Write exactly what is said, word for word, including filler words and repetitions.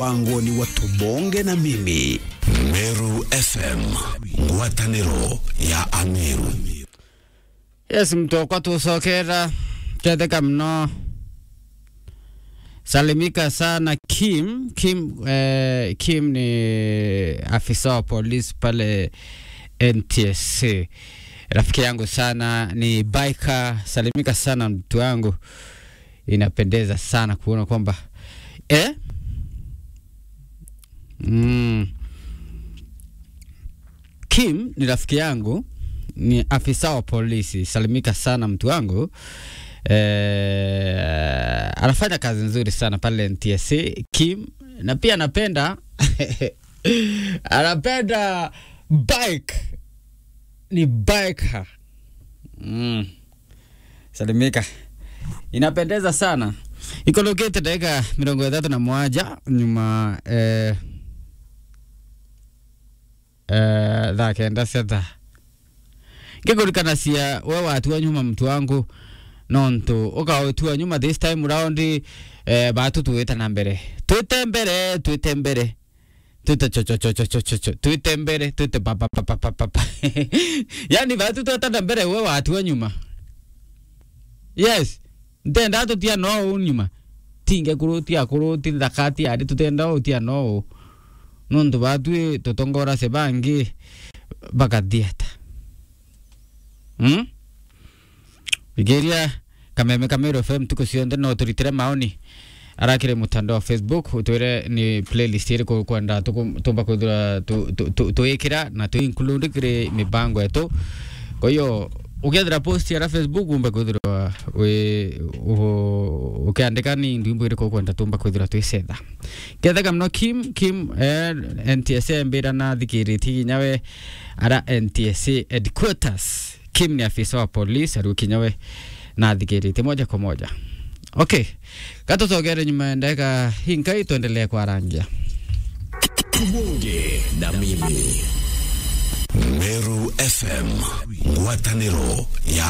Bangoni wa Tubonge na Mimi. Meru F M, ngwataniro ya Ameru. Yes, mtokwa tucokera, tetheka mno. Salimika sana Kim. Kim, eh, Kim ni afisa wa polisi pale N T S A. Rafiki yangu sana ni biker. Salimika sana mtu wangu. Inapendeza sana kuona kwamba, eh? Mm. Kim ni rafiki yangu, ni afisa wa polisi. Salimika sana mtu wangu. Eh, anafanya kazi nzuri sana pale N T S A, Kim. Na pia anapenda, anapenda bike. Ni biker. Mm. Salimika. Inapendeza sana. Ikorokete dakika mirongo ithatu na mwaja nyuma, eh, eh, thaa kenda cia thaa. Ngikurikanacia we watua nyuma mtu wangu, nontu ukaotua nyuma this time round, eh, batu tuwita na mbere. Twite mbere, twite mbere. Twite cho, cho, cho, cho, cho, cho, cho. Twite mbere, twite pa, pa, pa, pa, pa, pa, pa. Yani, batu tweta na mbere, we watua nyuma. Yes. Ntenda tutia no u nyuma. Tinge kuruti, akuruti, nthaka ti ari, tutenda utia no u. Nontu batwi tutongora se bangi bakathieta. Hmm? Igeria Kameme ka Meru F M ntuku cionthe, no turitire maoni arakire mutandao wa Facebook, utwire ni playlist iriku ukwenda tuku-, tumba kwithira tu-, tu-, tu-, tuikira na tu include kiri mibango yetu. Kwa hiyo, ukethira post ara Facebook, umbe kwithirwa wi-, u-, ukiandika ni ndwimbo iriku ukwenda tumba kwithirwa twisetha. Ketheka mno Kim, Kim, eh, N T S A mbira na thikiriti kinya we ara N T S A headquarters. Kim ni afisa wa polisi, ariu kinya we na athikirite moja kwa moja. Okay. Gatucogere nyuma ya ndagika inkai, tuendelee kwarangia. Tubonge na Mimi. Meru F M, ngwataniro ya